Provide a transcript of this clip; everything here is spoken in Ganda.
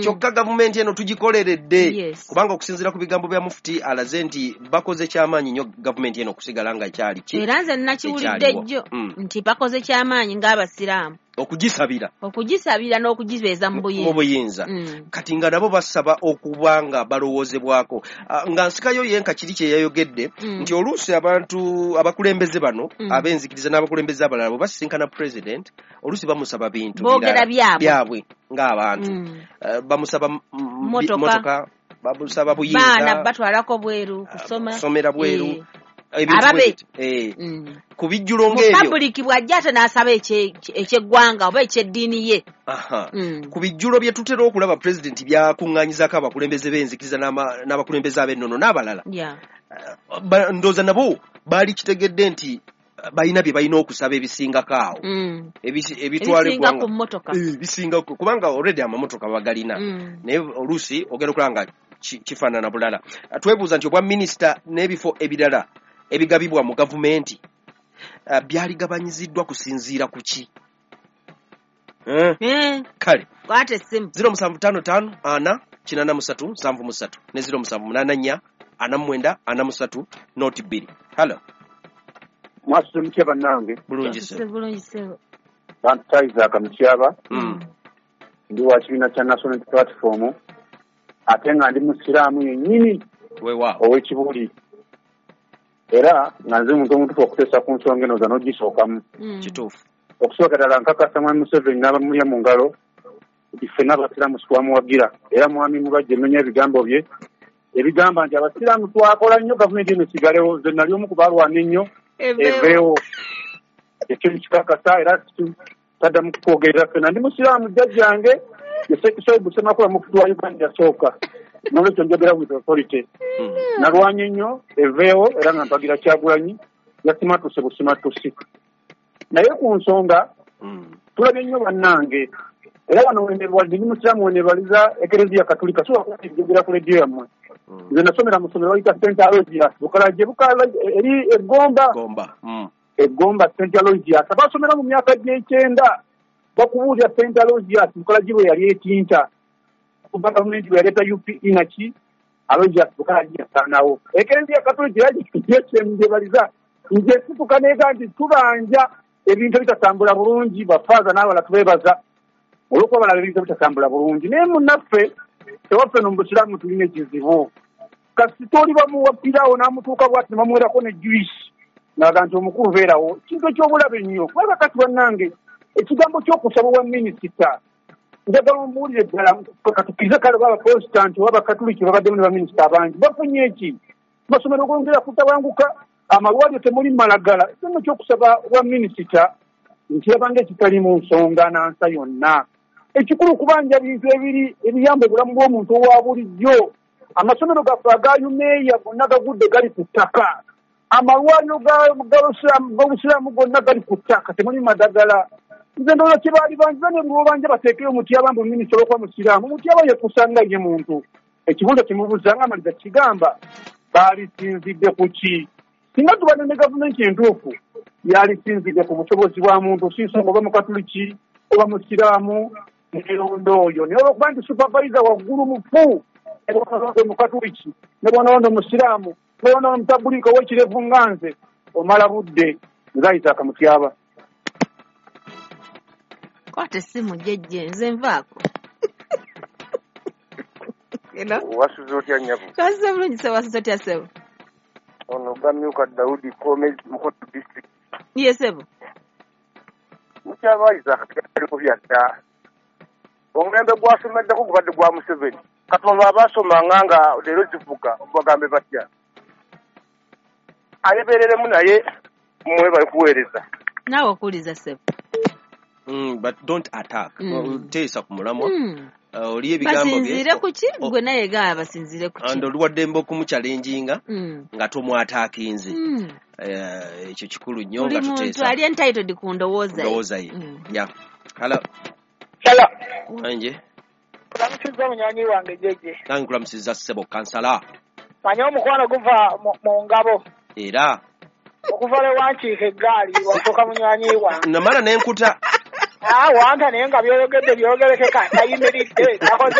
Kyokka gavumenti eno tugikoleredde, kubanga okusinziira ku bigambo bya Mufti alaze nti bakoze kyamaanyi nnyo gavumenti eno okusigala nga ekyali ki. Era nze nakiwulidde jjo nti bakoze kyamaanyi ng'abasiraamu okugisabira n'okugibeeza mu buyinza. Kati nga nabo basaba okuba nga balowoozebwako. Nga nsikayo yenka kiri kye yayogedde nti oluusi abantu abakulembeze bano ab'enzikiriza n'abakulembeze abalala bwe basisinkana president oluusi bamusaba bintu byabwe ng'abantu. Bamusaba motoka, bamusaba buyinza, baana batwalako bweru kusoma, kusomera bweru. Ababe ku bijjulo ng'ebyo public bw'ajja ate n'asaba ekyeggwanga oba ekyeddiini ye. Ku bijjulo bye tutera okulaba president byakuŋŋaanyizaako abakulembeze b'enzikiriza n'abakulembeze ab'ennono n'abalala, ndowooza nabo baali kitegedde nti balina bye balina okusaba ebisingako awo, ebitwala eggwanga ebisingako, kubanga already amamotoka bagalina, naye oluusi ogenda okulaba nga kifaanana bulala. Twebuuza nti obwa minisita n'ebifo ebirala ebigabibwa mu gavumenti byaligabanyiziddwa kusinziira ku ki? Kale kwata essimu 0755 4 83 73 ne 0784 49 43 noti 2. Hello. Mwasuze mutya bannange? Bulungi ssebo. Bantu Isaac Mutyaba. Ndi wa kibiina kya National Platform, ate nga ndi musiraamu yennyini ow'Ekibuli. Era nga nze omuntu omutuufu okuteesa ku nsonga eno n'ogisookamu. Kituufu. Okusooka ddala nkakasa Mwami Museveni n'abamulya mu ngalo nti ffenna abasiraamu twamuwagira, era Mwami Mubajje mmenya ebigambo bye ebigamba nti abasiraamu twakola nnyo gavumenti eno esigalewo. Nze nali omu ku balwana ennyo eveewo. Ekyo nkikakasa era taddamu kukwogerera ffenna. Ndi musiraamu, jjajjange Sheikh Ssemakula Mufti wa Uganda yasooka, n'olwekyo njogera with authority. Nalwanye nnyo eveewo era nga mpagira Kyagulanyi, yasimatuse busimatusi. Naye ku nsonga tulabye nnyo bannange, era wano ndi musiraamu wenebaliza Ekereziya Katolika, sobola kuba ku rediyo yammwe. Nze nasomera mu ssomero bayita St. Aloysius Bukalajje, eri Eggomba. Eggomba St. Aloysius. Abasomera mu myaka gy'ekyenda bakubuulira St. Aloysius Bukalajje bwe yali etinta, kuba gavumenti bwe yaleeta UPE naki Aloysius Bukalajje yasaanawo. Ekereziya Katolika yagyebaliza nze situka neega nti tubanja ebintu ebitatambula bulungi, bafaaza n'abalala tubeebaza olw'okuba balaba ebintu ebitatambula bulungi. Naye munnaffe tewaffe no mu busiraamu tulina ekizibu. Kasita oli bamuwa piraawo n'amutuuka bw'ati ne bamuwerako ne juice ng'aga nti omukulu beerawo, kintu eky'obulabe ennyo. Kubanga kati bannange ekigambo ky'okusaba obwa minisita njagala ombuulire ddala, katukkirize kale oba abaprotestanti oba abakatuliki babaddemu ne baminisita abangi bafunye eki? Amasomero gongera kutabanguka, amalwaliro temuli malagala. Ekigambo ky'okusaba obwa minisita nkiraba ng'ekitali mu nsonga nansa yonna. Ekikulu kubanja bintu ebiri ebiyamba obulamu bw'omuntu owa bulijjo. Amasomero gaffe aga UMEA gonna gagudde gali ku ttaka, amalwaliro g'obusiraamu gonna gali ku ttaka, temuli madagala. Nze ndowooza kye baali banjiza ne bw'obanja bateekeyo Mutyaba mbu minisita olw'okuba musiraamu. Mutyaba yekusanga ye muntu. Ekibuuzo kimubuuza nga amaliza kigamba baalisinzidde ku ki? Singa tubadde ne gavumenti entuufu yalisinzidde ku busobozi bwa muntu, si nsonga oba mukatuliki oba musiraamu neronda oyo. Naye olw'okuba nti supervisor waggulu mufu, ne bw'onalonda omukatuliki, ne bw'onalonda omusiraamu, ne bw'onalonda omutabuliika ow'ekirevu nga nze, omala budde. Nze Isaac Mutyaba. Kwata essimu jjejje, nze nvaako. Wasuze otya nnyabo? Twasuze bulungi ssebo, wasuze otya ssebo? Ono Gamyuka Daudi Kome, Mukono district. Ye ssebo. Mutyaba Isaac aliko byadda. Omulembe gwasomeddeko gubadde gwa Museveni. Kati abasomanga nga leero zivuga bagambe batya? Alebereremu naye mmwe bali kuweereza. Naawe okuwuliza ssebo. But don't attack. Teesa ku mulamwa. Oli ebigambo bye. Basinziire ku ki? Gwe naye gaba basinziire ku ki? And oli waddembe okumuchallenginga nga tomwataakinze. Ekyo kikulu nnyo nga tuteesa. Buli muntu ali entitled ku ndowooza ye. Yeah. Hello. Hello. Wanje. Kulamusizza munywanyi wange jjejje. Nange nkulamusizza ssebo kansala. Manye omukwano guva mu ngabo. Era okuva lwe wankiika eggaali wafuuka munywanyi wange. Namala ne nkuta. Wanta naye nga by'oyogedde byogerekeka, tayimiridde, takoze